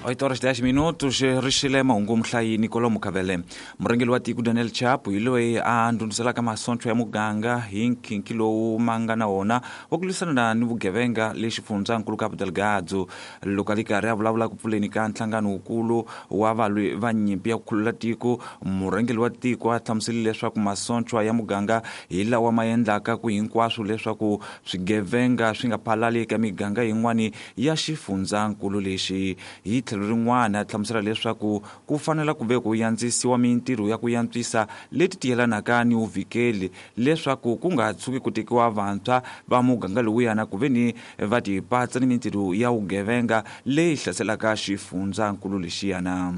8 horas 10 minutos, rixile mahungu muhlayi Nicolo Mukhavele. Murhangeri wa tiko Daniel Chapo hi loyi a ndhundhuzelaka masocha ya muganga hi nkhinkhi lowu ma nga na wona wa ku lwisana ni vugevenga le xifundzankulu Cabo Delgado. Loko a ri karhi a vulavula ku pfuleni ka nhlangano wukulu wa valwi va nyimpi ya ku khulula tiko, murhangeri wa tiko a hlamuserile leswaku masocha ya muganga hi lawa ma endlaka ku hinkwaswo leswaku swigevenga swi nga phalali eka miganga yin'wani ya xifundzankulu lexi. Hi tlhelo rin'wana a hlamusela leswaku ku fanela ku ve ku yandzisiwa mintirho ya ku yantswisa leti tiyelanaka ni vuvikeli leswaku ku nga tshuki ku tekiwa vantshwa va muganga lowuyana ku ve ni va tipatsa ni mintirho ya vugevenga leyi hlaselaka xifundzankulu lexiyana.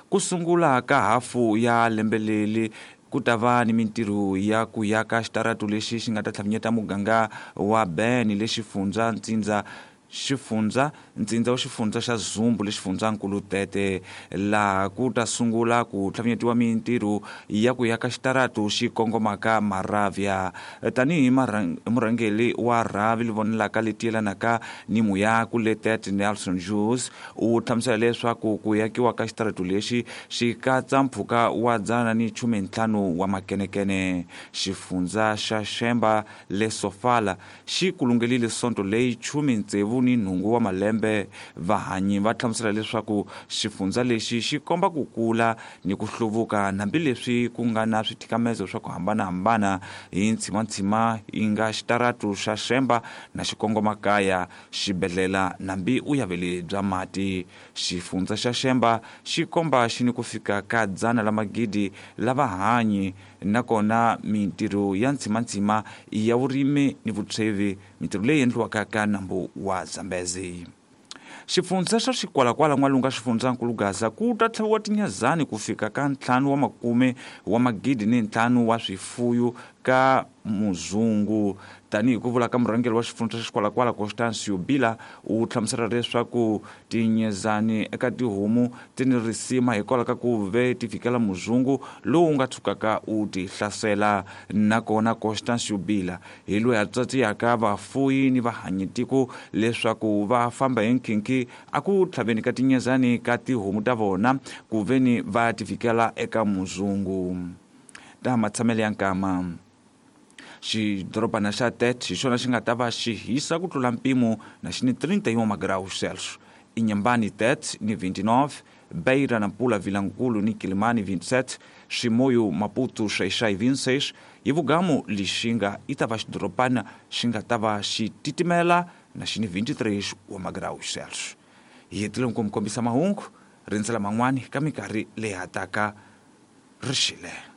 Ku sungula ka hafu ya lembe leri ku ta va ni mintirho ya ku yaka xitaratu lexi xi nga ta tlhavinyeta muganga wa Ben le xifundza ntsindza xifundza ntsindza wa xifundza xa Zumbu le xifundzankulu Tete, laha ku ta sungula ku tlhavinyetiwa mintirho ya ku yaka xitaratu xi kongomaka Maravia. Tanihi murhangeri wa rhavi li vonelaka leti yelanaka ni muyaku le Tete, Nelson Jules u hlamusela leswaku ku yakiwa ka xitaratu lexi xi katsa mpfhuka wa 115 wa makenekene. Xifundza xa Xemba le Sofala xi kulungelile sonto leyi 68 wa malembe. Vahanyi va hlamusela leswaku xifundza lexi xi komba ku kula ni ku hluvuka hambileswi ku nga na swithikamezo swa ku hambanahambana hi ntshimanthsima yi nga xitaratu xa Xemba na xikongomakaya, xibedhlela nambi vuyaveli bya mati. Xifundza xa Xemba xi komba xi ni ku fika ka 100 la magidi la vahanyi, nakona mintirho ya ntshimanthsima ya vurimi ni vutshwevi, mintirho leyi endliwaka ka nambu wa Zambezi. Xifundza xa Xikwalakwala n'walunga xifundzankulu Gaza ku ta tlhaviwa tinyazani ku fika ka 5 wa makume wa magidi ni 5 wa swifuyu ka muzungu. Tanihi ku vula ka murhangeri wa xifundza xa Xikwalakwala Constancio Bila, u hlamusela leswaku tinyezani eka tihomu ti ni risima hikwalaho ka ku ve ti fikela muzungu lowu nga tshukaka u ti hlasela. Nakona Constancio Bila hi loyi a tsatsiyaka vafuyi ni vahanyitiko leswaku va famba hi nkhinkhi a ku tlhaveni ka tinyezani ka tihomu ta vona ku ve ni va ti fikela eka muzungu. Ta matshamelo ya nkama. Xidorobana xa Tete hi xona xi nga ta va xi hisa ku tlula mpimo na xi ni 31 magraus Celsius. Inhambane Tete ni 29, Beira, Nampula, Vilankulo ni Quelimane 27, Chimoio, Maputo, Xai-Xai 26, hi vugamu Lixinga yi ta va xidorobana xi nga ta va xi titimela na xi ni 23 wa magraus Celsius. Hi hetile ku mi kombisa mahungu, rindzela man'wani ka minkarhi leyi hataka. Rixile.